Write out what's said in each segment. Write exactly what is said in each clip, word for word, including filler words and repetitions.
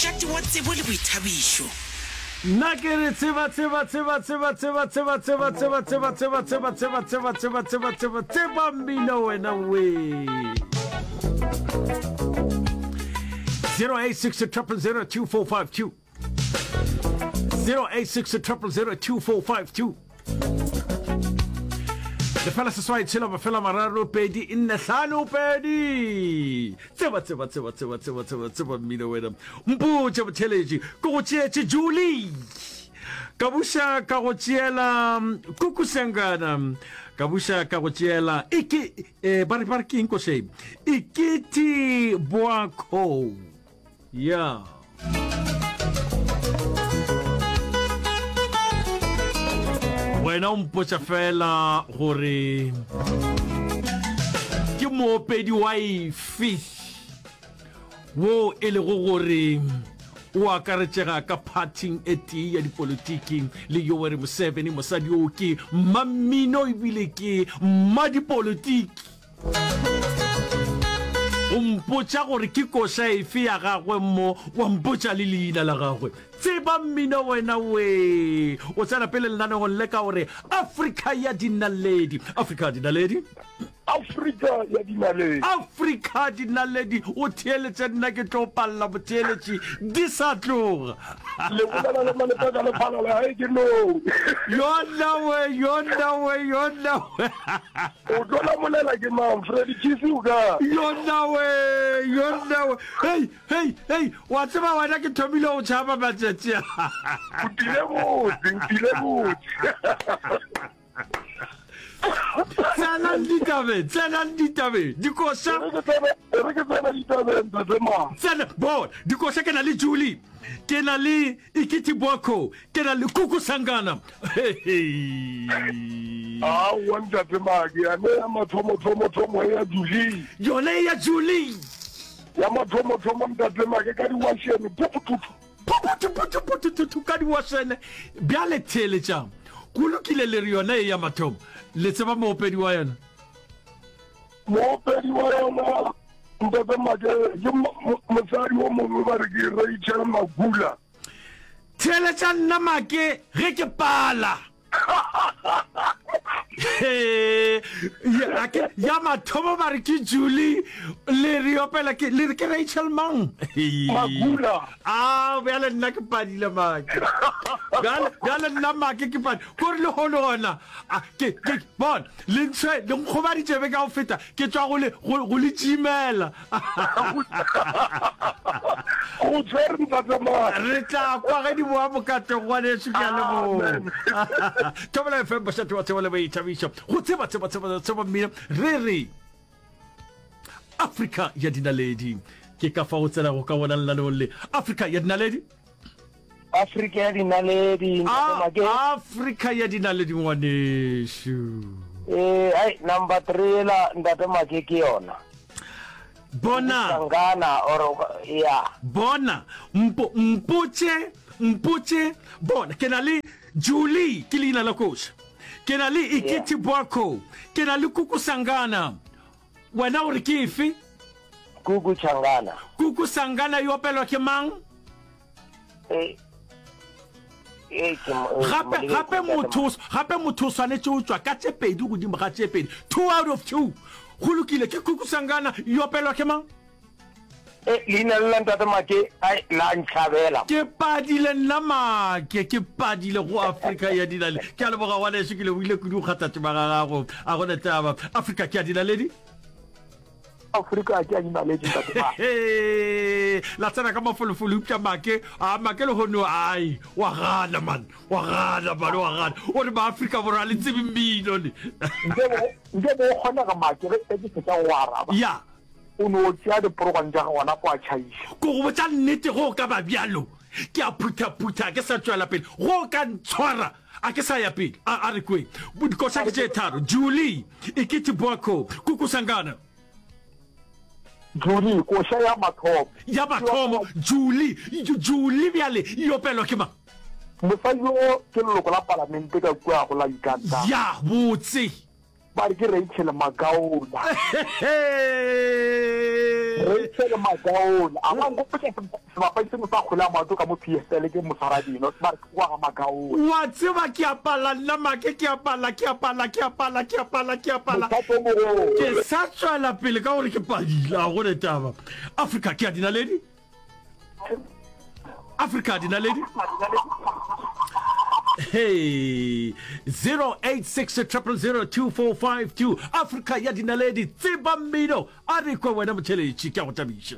Mošate wa tsebo le boithabišo. Nna ke re tseba tseba tseba tseba tseba tseba tseba tseba tseba tseba tseba tseba tseba tseba tseba tseba tseba mmino wena we zero eight six triple zero two four five two zero eight six triple zero two four five two lefela seswai tshela mafela mararo pedi nne hlano pedi tseba tseba tseba tseba tseba tseba tseba mmino wena mpotše botheletši ke go tšeetše Julie ka buša ka go tšeela kuku sengana ka buša ka go tšeela eke eh, ba re ba re ke eng košeng ikete boakho ya wena o mpotša fela gore ke moopedi wa efe wo e lego gore o akaretšega ka phathing e tee ya dipolitiki le Yoweri Museveni. Mosadi yo ke mmammino ebile ke mmadipolitiki. O mpotša gore ke koša efe ya gagwe mo, wa mpotša le leina la gagwe. Tseba mmino wena wee! O tsena pele lenaneong le ka gore Afrika ya Dinaledi. Afrika Dinaledi. Afrika ya Dinaledi. Afrika Dinaledi. O theeletše nna ke tlo palela motheeletši di sa tloga. Le bolela le Malepeka le Phalala gae ke no. Yona we, yona we, yona we. O tlo lamolela ke mang? Freddy Chisi o kae? Yona we, yona we. Hei, hei, hei, wa tseba wena ke thomile go tšhaba matšatši a. O tlile botse, o tlile botse. Tsenang ditabeng, tsenang ditabeng. Dikoša. E re ke tsena ditabeng, Ntate Ma. Tsena, bona, dikoša ke na le Julie, ke na le Ikiti Boko, ke na le Kuku Sangana. Hei. Aowa, Ntate Ma, ke yane ya mathomo-thomo-thomo ya Julie. Yona ya Julie. Ya mathomo-thomo, Ntate Ma, ke ka diwašene, puputhuthu. Puputhuphuthuphuthuthu ka diwašene. Bjale theeletšang. Go lokile le re yona e ya mathomo. Le tseba moopedi wa yona? Moopedi wa yona, Ntate Make, ke mosadi wo mongwe ba re ke Rachel Magula. Theeletša nna Make ge ke pala. Ya, ke, ya mathomo ba re ke Julie, le re opela ke, le re ke Rachel mang? Magula. A, bjale nna ke padile Make. Bjale, bjale nna Make ke padile. Kore le hono gona, a, ke, ke, bona, le ntshwe, le nkgobaditše be ka go feta, ke tšwa go le, go, go le tšimela. Go tshwere Ntate Mane. Re tla kwa ge di boa mokatong ngwanešu, ke a leboga. Thobela F M mošate wa tsebo le boithabišo. Go tseba tseba tseba tseba mmino re re Afrika ya dinaledi. Ke ka fa o tsenago ka wona lenaneong le Afrika ya dinaledi. Afrika ya dinaledi Ntate Make. Afrika ya dinaledi ngwanešu. Ee, ai number three ela Ntate Make ke yona. Bona. Sangana or ya. Bona, mpo, mpotše, mpotše, bona, ke na le Julie, ke leina la koša. Ke na le Ikiti Boako, ke na le Kuku Sangana. Wena o re ke efe? Kuku Changana. Kuku Sangana e opelwa ke mang? E, e, ke mo- e, ke Gape, mo lebetse, gape Ntate motho, Make. gape motho o swanetše o tšwa ka tše pedi godimo ga tše pedi. Two out of two. Go lokile, ke Kuku Sangana, e opelwa ke mang? E, leina le la Ntate Make, ai, la ntšhabela. Ke padile nna Make, ke padile go Afrika ya dinaledi. Ke a leboga ngwanešu, ke lebogile kudu go kgatha tema ga gago. A go ne taba. Afrika ke ya dinaledi? Afrika ke ya dinaledi Ntate Make. La tsena ka mafolofolo eupša Make, a Make lehono ai, wa gana man, wa gana man, wa gana. O re Maafrika Borwa a le tsebe mmino le. Nke bo, nke bo kgonega Make ge ke fetša go araba. Ya. O no tšea diporogwane tša gago gona fo a tšhaiša. Ko go botša nnete, go ka ba bjalo, ke a phuthaphutha, ke sa tšwela pele. Go ka ntshwara, a ke sa ya pele. A, a re kweng. Dikoša ke tše tharo, Julie, Ikiti Boako, Kuku Sangana. Julie, koša ya mathomo. Ya mathomo, Julie, Julie bjale e opelwa ke mang? Mosadi yo ke leloko la palamente ka kua go la Uganda. Ya, botse. Ba re ke Rachel Magaola. Rachel Magaone a ba nkgopotša sebapadi sengwe sa kgwele ya maoto ka mo P S L, ke moswaradino ba re ke kwa ga Magaone. Wa tseba ke a pala nna Make, ke a pala, ke a pala, ke a pala, ke a pala, ke a pala. Mothapo o mogolo. Ke sa tšwela pele ka gore ke padile, a go ne taba. Afrika ke a dinaledi. Afrika dinaledi. Hey, zero eight six zero zero zero two four five two. Afrika ya dinaledi, tseba mmino, a re kwe wena motheletši, ke a go tabiša.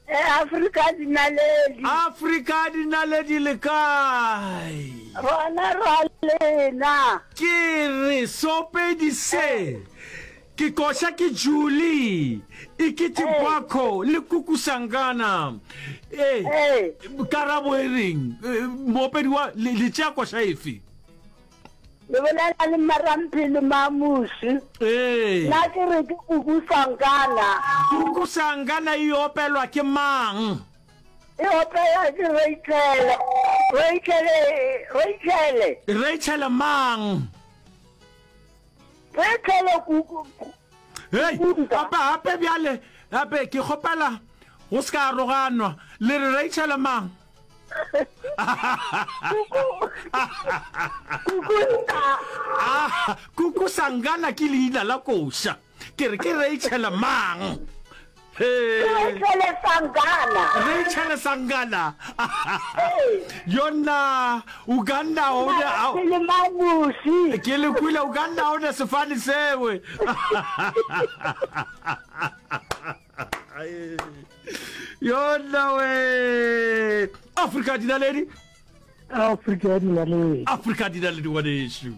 E Afrika dinaledi. Afrika dinaledi, le kae? Rona ra lena. Ke re sopedi se ke koša ke Julie Ikiti Bako le Kuku Sangana ee. Ee. Karabo e reng? Eh, moopedi wa le le tšea koša efe? Le bolela le Maramphele Mamusi. Ee. Nna ke re ke Kuku Sangana. Kuku Sangana e opelwa ke mang? E opela ke Rachel. Rachel, Rachel. Rachel mang? Rachel Kuku. Hei. Kuku. Gape gape bjale gape ke kgopela go se ka aroganwa, le re Rachel mang? Kuku. Kuku nta. Ah, Kuku Sangana ke leina la koša, ke re ke Rachel mang? He. Rachel Sangana. Rachel Sangana. Ee. Yona Uganda o ne a Maramphele Mamusi. Ke le kwile, Uganda o ne sefane sewe. Yona we Afrika dinaledi. Afrika ya dinaledi. Afrika dinaledi, ngwanešu.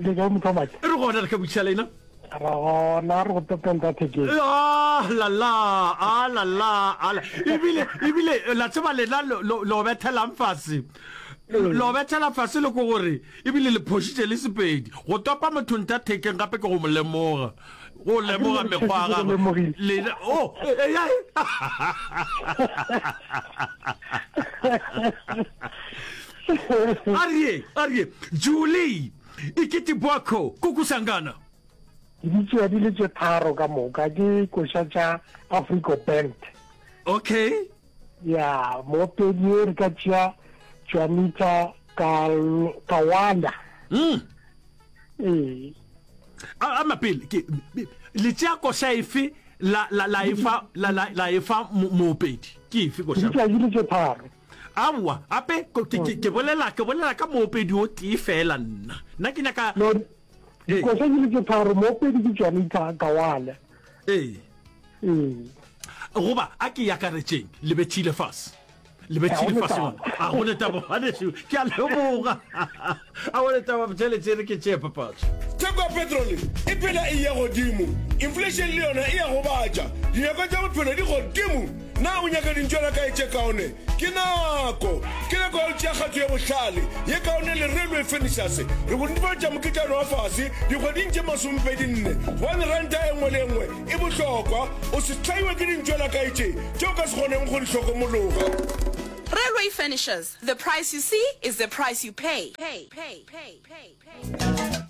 Le kae, motho wa maatla? Re gona, re ka botšiša lena? Ra gona, re go topenta thekeng. Ah la la, ah la la, ah la. Ebile ebile la tseba lena lo lo lo bethelang fase, lo bethela fase le ko gore ebile le phošitše le Sepedi. Go topa motho nta thekeng gape ke go mo lemoga, go lemoga mekgwa ya gagwe. Lemogile. Lena oh eh, eh, eh. A re a re Julie Ikiti Bwako, Kuku Sangana. Ke di tšea di le tše tharo ka moka, ke koša tša Africo Band. Okay. Ya moopedi o re ka tšea Juanita Kal- Kawala. Mm. Ee. A a mapele ke le tšea koša efe la la la efa la la la efa mo- moopedi ke efe Ke koša? di tšea di le tše tharo. Aowa, ape ko- ke ke ke bolela ke bolela ka moopedi o tee fela nna. Nna ke nyaka No. Ee. Dikoša di le tše tharo, moopedi ke Juanita Kawala. Ee. Ee. Goba a ke yakaretšeng le bethile fase. Le Ga bethile go fase taba. ngwana. A go ne taba ngwanešu. Ke a leboga. A go ne taba botšheletše re ke tšee papatso. Theko ya petrole e phela e eya godimo, inflation le yona e a gobatša, dinyakwa tša bophelo di godimo. Na o nyaka dintšwelakae tše kaone? Ke nako! Ke nako ya go tšea kgato ye bohlale, ye kaone le Railway Furnitures. Re go netefaletša mokitlano wa fase dikgweding tše masomepedi nne, gobane ranta e nngwe le e nngwe e bohlokwa. O se hlaiwe ke dintšwelakae tše tše o ka se kgoneng go di hlokomologa. Railway Furnitures, the price you see is the price you pay. Pay, pay, pay, pay, pay.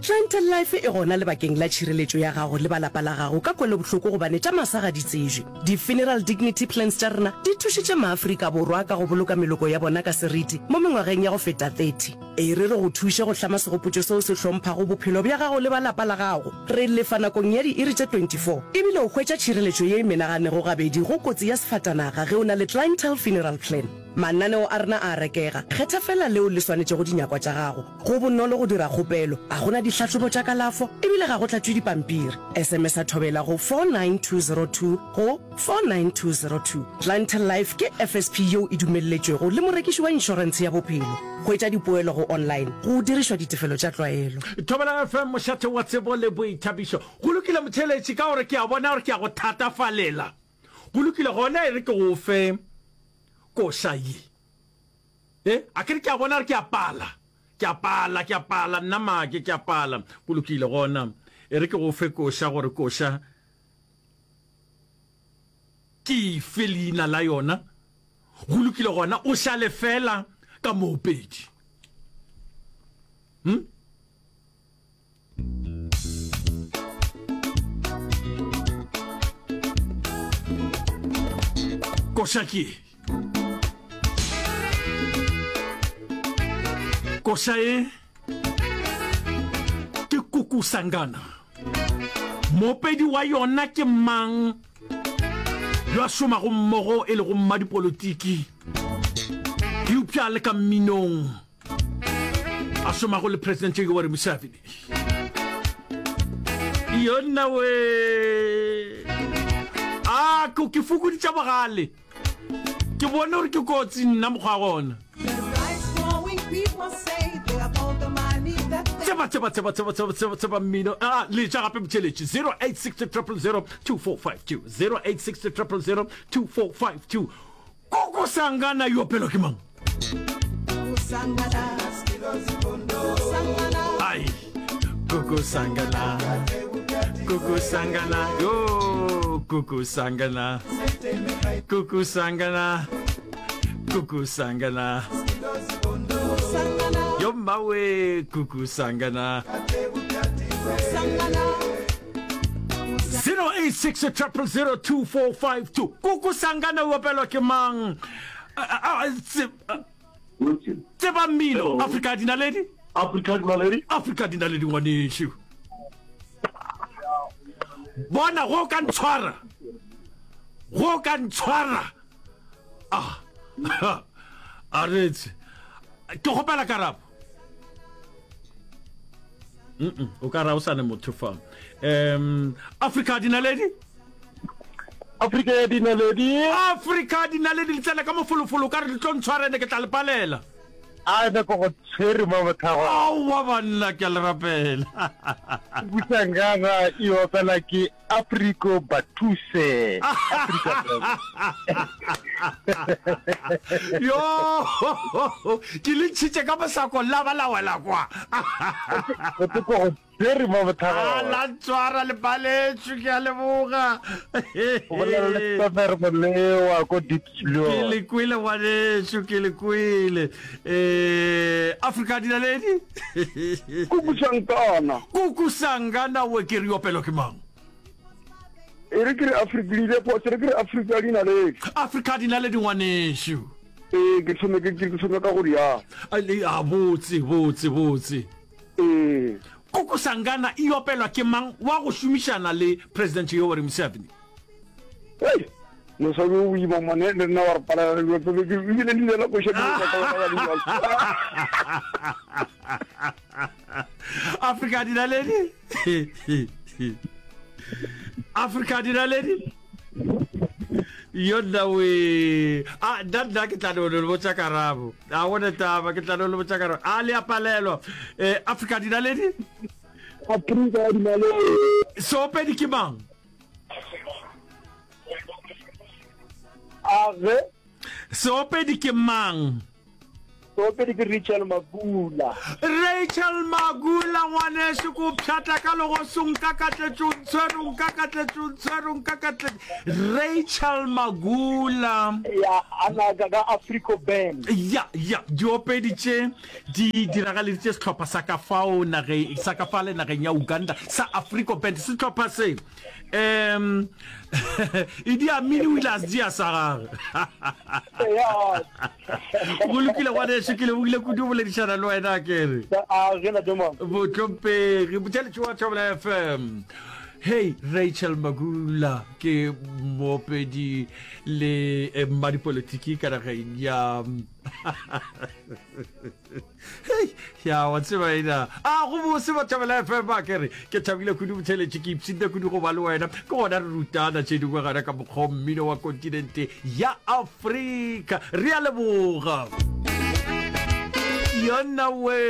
Clientele Life e gona lebakeng la tšhireletšo ya gago le ba lapa la gago ka kwelobohloko gobane tša masa ga di tsejwe. Di-funeral dignity plans tša rena di thušitše maAfrika Borwa ka go boloka meloko ya bona ka seriti mo mengwageng ya go feta thirty. E re re go thuše go hlama segopotšo seo se hlomphago bophelo bja gago le ba lapa la gago. Re lefa nakong ya diiri tše twenty-four ebile o hwetša tšhireletšo ye e menaganego gabedi go kotsi ya sefatanaga ge o na le Clientele Funeral Plan. Mananeo a rena a a rekega, kgetha fela leo le swanetšego dinyakwa tša gago. Go bonolo go dira kgopelo, a go na dihlahlobo tša kalafo ebile ga go tlatšwe dipampiri. S M S a Thobela go four nine two zero two go four nine two zero two. Clientele Life ke F S P yeo e dumelletšwego le morekiši wa inšorentshe ya bophelo. Hwetša dipoelo go online go dirišwa ditefelo tša tlwaelo. Thobela F M, mošate wa tsebo le boithabišo. Go lokile motheeletši, ka gore ke a bona gore ke a go thatafalela. Go lokile gona, e re ke go fe koša ye. E, a ke re ke a bona gore ke a pala. Ke a pala, ke a pala, nna Make, ke a pala. Go lokile gona, e re ke go fe koša gore koša ke efe leina la yona. Go lokile gona, o šale fela ka moopedi. Hm? Koša ke ye. Koša ye ke Kuku Sangana. Moopedi wa yona ke mang yo a šomago mmogo e lego mmadipolotiki eupša le ka mminong a šomago le Presidente Yoweri Museveni? Yonna we! A ko ke fokoditša bogale. Ke bone gore ke kotsi nna mokgwa wa gona. Tseba, tseba, tseba, tseba, tseba, tseba, tseba mmino. Ah, letša gape motšheletši. zero eight six triple zero two four five two. zero eight six triple zero two four five two. Koko Sangana yo opelwa ke mang? Ai, Koko Sangana. Koko Sangana. Yo, Koko Sangana. Koko Sangana. Koko Sangana. Yo mmawe Koko Sangana. zero eight six triple zero two four five two. Koko Sangana o opelwa ke mang? Tseba mmino. Afrika Dinaledi. Afrika Dinaledi. Afrika Dinaledi ngwanešu. Bona go ka ntshwara. Go ka ntshwara. Ah. A retse. Ke kgopela karabo. Mm o ka ra o sa ne motho fa. Um Afrika Dinaledi. Afrika ya Dinaledi. Afrika Dinaledi le tsena ka mofolofolo ka re le tlo ntshwara ene ke tla le palela. A ene ko go tshwere mo botlhago. Aowa banna ke a le rapela. Busangana e opela ke Afriko Batuse. Afrika Yo ke le ntšhitše ka mosako la ba la wela kwa. Go te ko go tshwere mo botlhago. A la ntshwara le paletšwe ke a leboga. O bolela le Samer Molewa ko Diepsloot. Ke le kwele ngwanešu ke le kwele. Eh Afrika Dinaledi. Kuku Sangana. Kuku Sangana we ke re opelo ke mang? E re ke re Afrika le ile phoso re ke re Afrika Dinaledi. Afrika Dinaledi ngwanešu. Ee ke thome ke ke thome ka go rialo. A botse botse botse. Ee. Kuku Sangana e opelwa ke mang wa go šomišana le President Yoweri Museveni? Hei, mosadi o boima mone le nna wa re palela le dilo tse ke ebile leina la koša ke le ka ka Afrika Dinaledi. Afrika Dinaledi. Yonna we. A nna nna ke tla no le botša karabo. A gone taba ke tla no le botša karabo. A le a palelwa. Eh Afrika Dinaledi. Afrika Dinaledi. Seopedi ke mang? A ge. Seopedi ke mang? Seopedi ke Rachel Magula. Rachel Magula ngwanešu ko pšhatla ka legosong ka katletšo ntshwero nka katletšo ntshwero nka katletšo Rachel Magula. Ya ana ka ka Africo Band. Ya ya diopedi tše di diragaleditše sehlopha sa ka fao nageng sa ka fale nageng ya Uganda sa Africo Band sehlopha se um Idi Amin o ile a se tšea sa gagwe. Go lokile ngwanešu, ke lebogile kudu go boledišana le wena ke re. Botlhompegi botšeletši wa Thobela F M. Hey Rachel Magula ke moopedi le eh, mmadipolotiki ka nageng ya Hei, ya wa tseba ena. A go bose ba Thobela F M a ke re ke thabile kudu botheletše ke ipshinne kudu go ba le wena. Ke gona re rutana tše dingwe gana ka mokgwa mmino wa kontinente ya Afrika. Re a leboga. Yona we.